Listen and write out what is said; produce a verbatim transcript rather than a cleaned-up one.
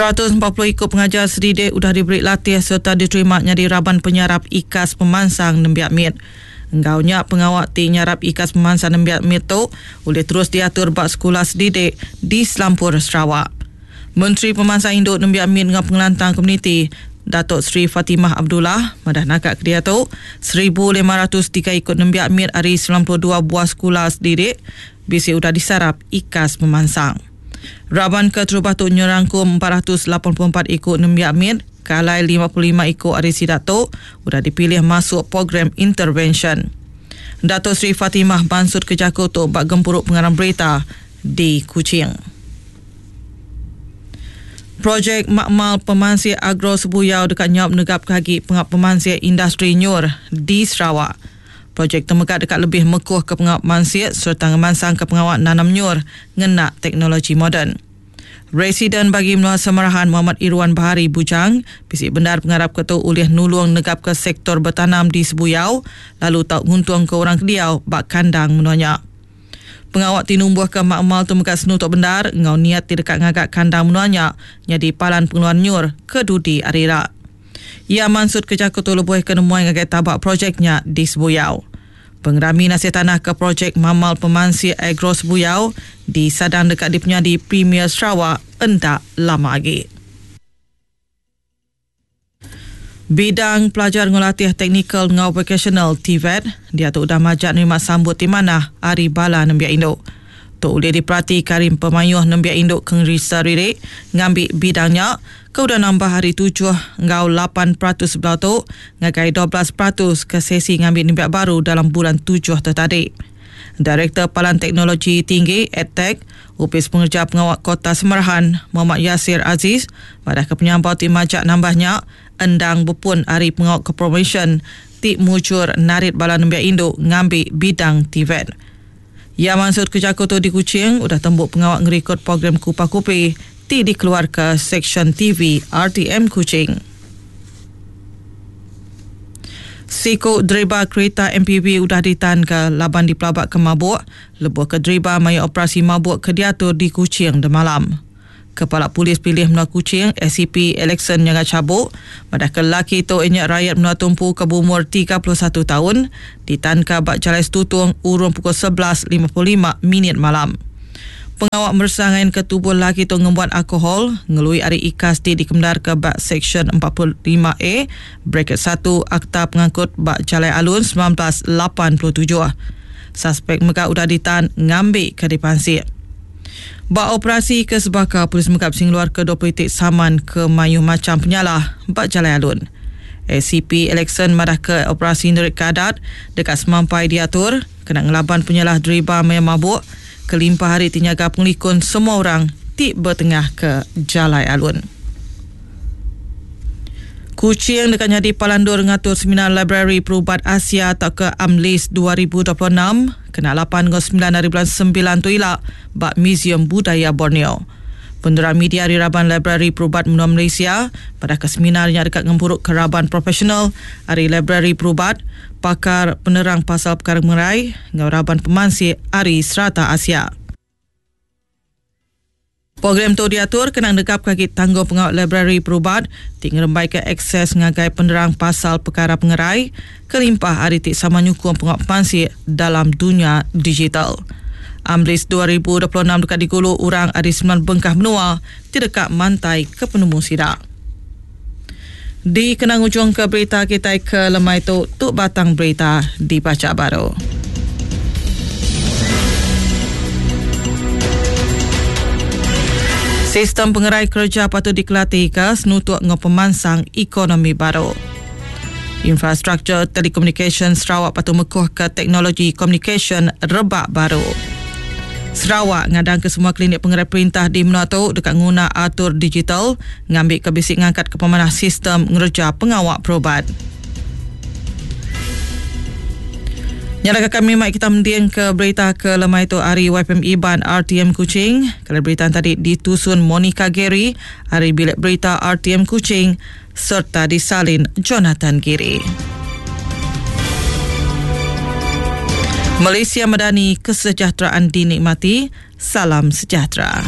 seratus empat puluh iku pengajar sedidik udah diberi latih serta diterima nyadi raban penyarap ikas pemansang nembiak mit. Enggau nya pengawak ti nyarap ikas pemansang nembiak mit tu boleh terus diatur ba sekolah sedidik di Selampur Sarawak. Menteri Pemansang Induk Nembiak Mit dengan Pengelantang Komuniti Datuk Seri Fatimah Abdullah madah nakak ke dia tu seribu lima ratus tiga ikut nembiak mit hari sembilan puluh dua buah sekolah sedidik bisi udah disarap ikas pemansang. Raban keterubah tu nyerangkum empat ratus lapan puluh empat ikut nembiak mit kalai lima puluh lima ikut hari sidak tu udah dipilih masuk program intervention. Datuk Seri Fatimah Bansut Kejaku tu bak gempuruk pengarang berita di Kuching. Projek Makmal Pemansik Agro Sebuyau dekat nyap negap kagi pengap pemansik industri nyur di Sarawak. Projek temegak dekat lebih mekuh ke pengap mansik serta ngemansang ke pengawak nanam nyur ngenak teknologi moden. Residen bagi Menua Semarahan Muhammad Irwan Bahari Bujang bisi benar pengarap ketu ulih nulung negap ke sektor bertanam di Sebuyau lalu tau nguntung ke orang kediau bak kandang menuanya. Pengawak tinumbuh ke makmal tu megat senutuk bendar ngau niat tidak ngagak kandang menuanya jadi palan pengeluaran nyur ke dudi arira. Ia mansut ke jaku tu lebuh ke nemuai ngagai tabak projeknya di Sebuyau. Pengerami nasi tanah ke projek Mamal Pemansik Agro Sebuyau di Sadang dekat di penyadi Premier Sarawak endak lama lagi. Bidang pelajar ngelatih teknikal ngau vocational T V E T dia tu udah majak nerima sambut di mana hari bala nembiak induk. Tu boleh diperhati karim pemayuh nembiak induk kengerisa ririk ngambil bidangnya ke udah nambah hari tujuh ngau lapan peratus sebelah tu ngagai dua belas peratus ke sesi ngambil nembiak baru dalam bulan tujuh tu tadi. Direktur Palan Teknologi Tinggi EdTech Upis Pengerja Pengawak Kota Semarahan Muhammad Yasir Aziz pada kepenyampau ti majak nambahnya endang bepun hari pengawak ke promotion ti mujur narit bala nembiak induk ngambil bidang T V E T. Ya maksud kerja tu di Kuching udah tembuk pengawak ngerikod program Kupa Kupi ti dikeluar ke Seksyen T V R T M Kuching. Siku driba kereta M P V udah ditan ke laban di pelabak ke mabuk, lebuh ke driba maya operasi mabuk ke diatur di Kuching demalam. Kepala Polis Pilih Menua Kuching S C P Alexon Nyaga Cabuk pada kelaki tu inyak rakyat Menua Tumpu ke berumur tiga puluh satu tahun ditanka bak Jalai Setutung urung pukul sebelas lima puluh lima minit malam. Pengawak mersangain ke tubuh laki tu ngembuat alkohol ngelui ari ikas ti dikemdar ke bak Seksyen empat puluh lima A bracket satu Akta Pengangkut bak Jalai Alun sembilan belas lapan puluh tujuh. Suspek mega udah ditan ngambil ke dipansik. Bak operasi ke sebaka polis mega sing luar ke dua puluh titik saman ke mayu macam penyalah bak Jalai Alun. S C P Alexon madah ke operasi nerik kadat dekat semampai diatur kena ngelaban penyalah driba maya mabuk kelimpah hari tinyaga pengelikun semua orang ti bertengah ke Jalai Alun. Kuching dekat nyadi palandur ngatur seminar Library Perubat Asia atau ke AMLIS dua ribu dua puluh enam kena lapan hingga sembilan hari bulan sembilan tu ilak bak Museum Budaya Borneo. Penerang media di Raban Library Perubat Menua Malaysia pada keseminarnya dekat ngempuruk keraban profesional hari Library Perubat, pakar penerang pasal perkara mengerai ngau raban pemansik hari serata Asia. Program tu diatur kena negap kaki tanggung pengawal library perubat ti ngerembai ke akses ngagai penerang pasal perkara pengerai kelimpah hari ti sama nyukung pengawal pemansik dalam dunia digital. AMLIS dua ribu dua puluh enam dekat digulu orang ada sembilan bengkah menua ti dekat mantai ke penemu sidak. Di kenang ujung ke berita kita ke lemai tu, tu batang berita dibaca baru. Sistem pengerai kerja patut dikelatih ke senutuk ngau pemansang ekonomi baru. Infrastruktur telekomunikasi Sarawak patut mekuh ke teknologi komunikasi rebak baru. Sarawak ngadang ke semua klinik pengerai perintah di Menua tu dekat nguna atur digital ngambil ke bisik ngangkat ke pemanah sistem ngerja pengawak perubat. Nyalakan kami mic kita mendiang ke berita ke lemai tu hari Y P M Iban R T M Kuching. Kalau berita tadi ditusun Monica Gary, hari bilik berita R T M Kuching serta disalin Jonathan Giri. Malaysia Madani, kesejahteraan dinikmati. Salam sejahtera.